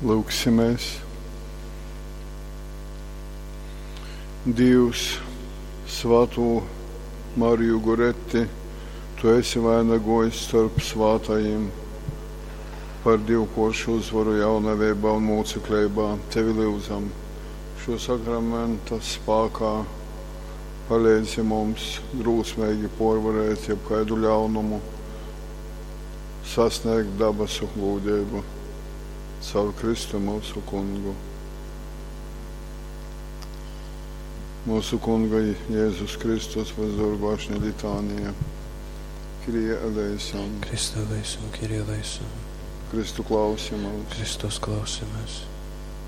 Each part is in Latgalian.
Lūksimies. Dīvs, svātū Mariju Goretti, tu esi vainagojis storp svātajim par divkuoršu uzvaru jaunaveibā un mūcekleibā. Tevi lyudzam, šo sakramenta spākā paleidzi mums drūsmeigi porvarēt jebkaidu ļaunumu, sasniegt dabasu gūdeibu. Caur Kristu mūsu kungu. Mūsu Kunga Jēzus Kristus vazorgošņa litānija. Kyrie eleison. Christe eleison, Kyrie eleison. Kristu klausi mūs. Kristus klausimies.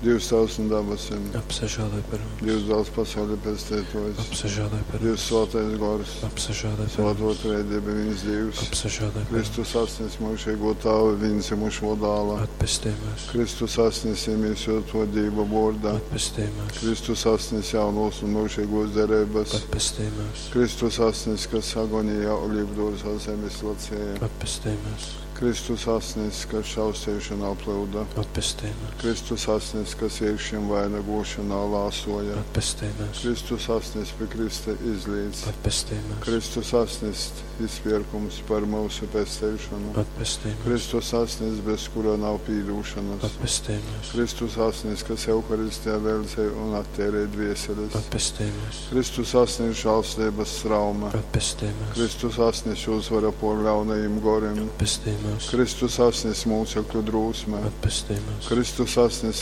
Dievs tavs un dabasim. Apsažēloj par mums. Dievs dāls pasauli pestētojs. Apsažēloj par Dievs mums. svētais gors. Apsažēloj par Svēto mums. trejdieba viens Dievs. Apsažēloj par Kristus mums. asnis mūžīgo tāvu vienzimušo dāla. Atpestī mūs. Kristus asnis iemīsoto Dīva vorda. Atpestī mūs. Kristus asnis jaunos un mūžīgos derības. Atpestī mūs. Kristus asnis, kas agonijā olīvdārzā zemes lacēja. Atpestī mūs. Kristus asnis, kas šaustīšanā plūda. Atpestī mūs. Kristus asnis, kas iekšķim vainagošanā lāsoja. Atpestī mūs. Kristus asnis pie Krista izlīdz. Atpestī mūs. Kristus asnis izpirkums par mūsu pestīšanu. Atpestī mūs. Kristus asnis, bez kura nav pīdūšanas. Atpestī mūs. Kristus asnis, kas Euharistijā veldzē un attērē dvieseles. Atpestī mūs. Kristus asnis žēlstības trauma. Atpestī mūs. Kristus asnis uzvara por ļaunajiem goriem. Atpestī mūs. Kristus asnis mūcekļu drūsme. Atpestī mūs. Kristus asnis.